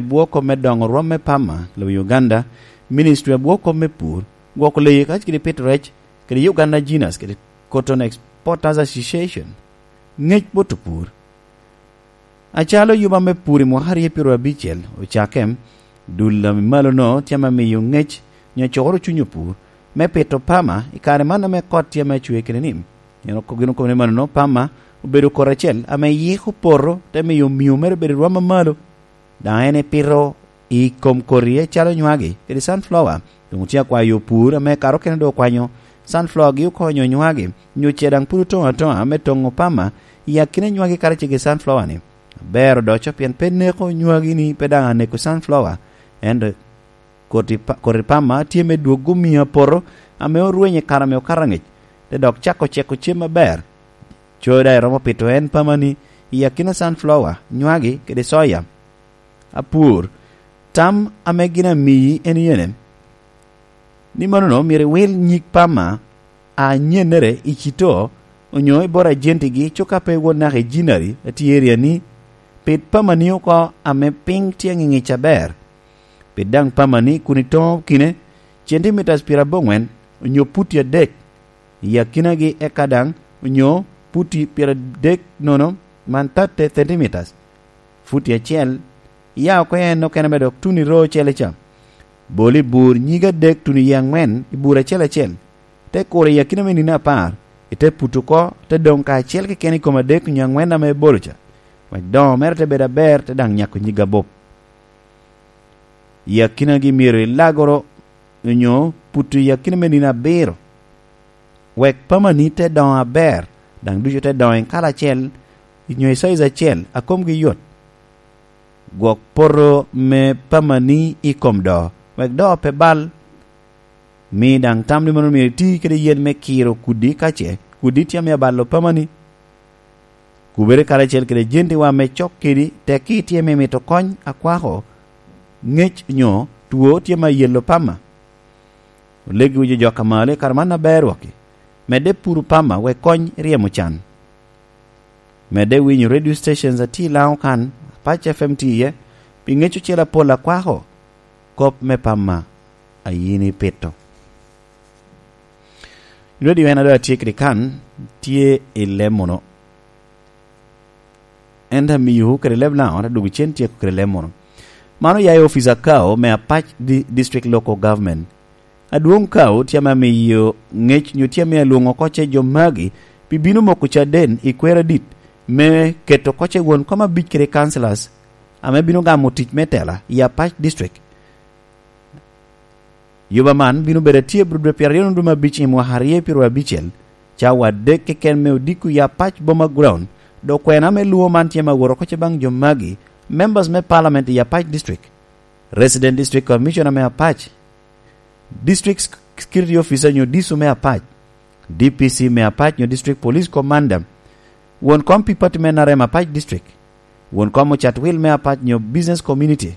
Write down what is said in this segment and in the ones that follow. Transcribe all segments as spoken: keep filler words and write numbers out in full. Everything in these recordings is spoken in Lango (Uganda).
bwoko me dongo rwom me pama i lobo Uganda, Ministry a bwoko me pur, gwoko leyi kac kede pito rec, kede Uganda Genus kede Cotton Exporters Association. Ngec bot opur. Acalo yuba me pur i mwaka aryo pyero abicel ocakke, dul a malo-no tye ame miyo ngec nyo coro cuny opur me pito pama i kare man ame kot tye ame acwe kede ni. Pien ok gin okobo ni mano-no, pama obedo kot acel ame yiko poto, te miyo omio mere obedo i rwom a malo. Daŋ en epito i kom koti acalo nywagi kede sunflower. Doŋ otye akwayo opur ame kato kene doŋ okwanyo sunflower-gi okonyo nywagi, nyo ce daŋ pud otoŋo atoŋa me toŋo pama i akina nywagi karacel kede sunflower-ni. Aber odoco pien pe neko nywagi-ni, pe daŋ aneko sunflower, ento koti pa-, koti pama tye me dwoggo mia poto ame orwenyo i kare ame okato angec, te dok cako ceko cem aber. Co daŋ iromo pito en pama-ni i akina sunflower, nywagi kede soya. Apur, tam ame gin amiyi en yene, ni mano-no myero iwil nyig pama a nyennere i cito onyo i bot ajenti-gi, cuka pe iwot naka i jinari a tye i area-ni. Pit pama-ni oko ame piny tye ŋiŋic aber. Pit daŋ pama-ni kun itoŋo kine centimeters pyeraboŋwen onyo puti adek i akinagi, eka daŋ onyo puti pyeradek nono, man thirty centimeters, futi acel, iya oko en okene me dok tuno i roo ocele ca. Bol i bur nyig adek tuno i aŋwen i bur acel acel, te kuro i akina me nino apar, ite puto oko, te doŋ kacel keken i kom adek onyo aŋwen ame ibolo ca, wek doŋo mere te bedo aber, te daŋ nyako nyig abup. I akinagi myero ilagoro onyo puto i akina me nino abiro, wek pamani te doŋo aber, daŋ ducu te doŋo i kala acel, onyo i caiz acel, a komgi yot. Gwok poto me pamani i kom doo, wek doo pe bal. Mi daŋ tam ni mano myero iti kede yen me kiro kudi, ka ce kudi tye ame abalo pamani. Kubere karacel kede jentiwa me cok kedi, tekki tye me mito kony akwako, ngec nyo two tye me ayelo pama. Oleggiwu jo jok a malo i kare man aber wokki, medde puro pama wek kony ryemo can. Medde winyo radio stations a tye i Laŋo kan, Apac F M tye iye, pi ngec ocele apol akwako kop me pama a yin ipito. Radio en a doŋ atye kede kan tye i Lemono. En daŋ amiyo kede leb Laŋo, te dwogo cen tyeko kede Lemono. Man oya i ofice a Kao me Apac Di-, District Local Government. Adwoŋ Kao tye ame amiyo ngec nyo tye ame alwoŋo oko ce jo magi pi bino moko caden i kwer adit me keto oko ce won kom abic kede councillors ame bino gamo tic me tela i Apac District. Yuba man bino bedo atye bro dwe pyeraryo nondume abic i mwaka aryo pyeraryo abicel, cawa adek keken me odiko i Apac Boma Ground. Dok kwena me lwo man tye me awot oko ce baŋ jo magi, members me parliament i Apac District, Resident District Commissioner me Apac, District Sec-, Security Officer nyo diso me Apac, D P C me Apac nyo District Police Commander, won kom pi pati me N R M Apac District, won kom ocat wil me Apac nyo business community,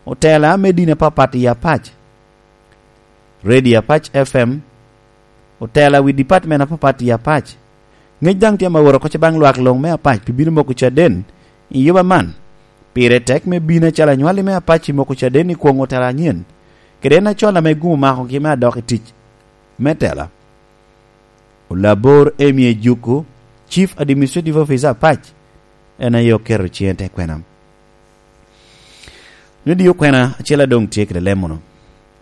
otela me dini apapat i Apac, Radio Apac F M, otela wi department apapat i Apac. Ngec daŋ tye ame awot oko ce baŋ lwak luŋ me Apac pi bino moko caden i yuba man. Pire tek me bino acalo anywalli me Apac i moko caden i kwoŋ otela anyen, kede en acol ame gum omakogi me adok i tic me tela. Olabor Emie Juku, Chief Administrative Officer Apac, en aye oketo ciŋe te kwena. Nyo dio kwena acel adoŋ tye kede lemono.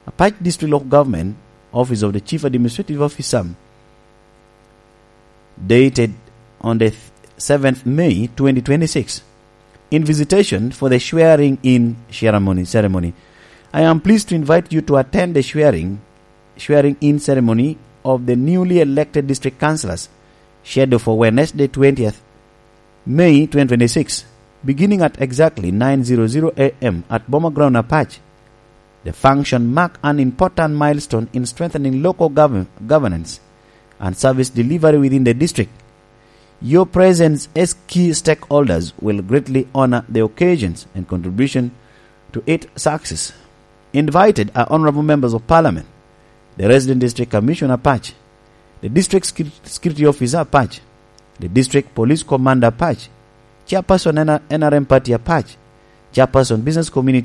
Apac District Local Government, Office of the Chief Administrative Officer, dated on the seventh May twenty twenty-six, in visitation for the swearing in ceremony, ceremony. I am pleased to invite you to attend the swearing, swearing in ceremony of the newly elected district councillors, scheduled for Wednesday, twentieth May twenty twenty-six, beginning at exactly nine zero zero A M at Boma Ground, Apac. The function mark an important milestone in strengthening local govern-, governance and service delivery within the district. Your presence as key stakeholders will greatly honor the occasions and contribution to its success. Invited are honorable members of parliament, the resident district commissioner Apac, the district secur-, security officer Apac, the district police commander Apac, chairperson N R M party Apac, chairperson, business community